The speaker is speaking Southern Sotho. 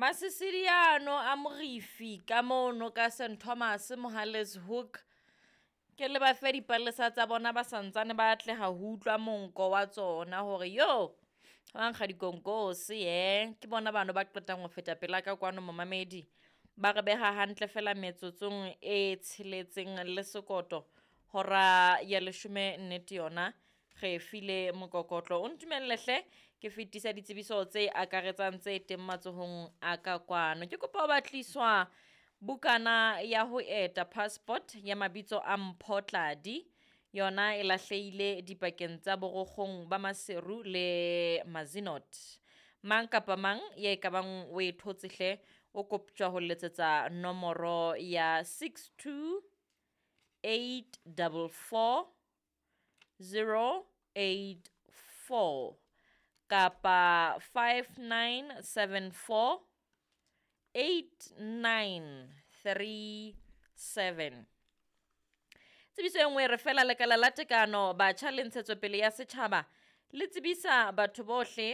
Masisidi ano a Morifi ka mono ka St Thomas Mohale's Hoek. Ke le ba fe dipalesa tsa bona ba santsane ba atleha ho utlwa monko wa tsona hore yo hwa nkga dikonkose hee. Ke bona bano ba qetang ho feta pela ka kwano momamedi. Ba re beha hantle feela metsotsong e tsheletseng le sekoto hora ya leshome nnete yona re e file mokokotlo. O ntumelle hle ke fetise ditsebiso tse akaretsang tse teng matsohong a ka kwano. Ke kopa ho batliswa bukana ya ho eta, passport ya mabitso a Mpho Tladi. Yona e lahlehile dipakeng tsa Borokgong ba Maseru le Mazenod. Mang kapa mang ye ka bang o e thotse hle, o koptjwa ho letsetsa nomoro ya 62 844 084 kapa 5974 8937. Tsebiso e nngwe e re fela lekala la tekano batjha le ntshetsopele ya setjhaba le tsebisa batho bohle.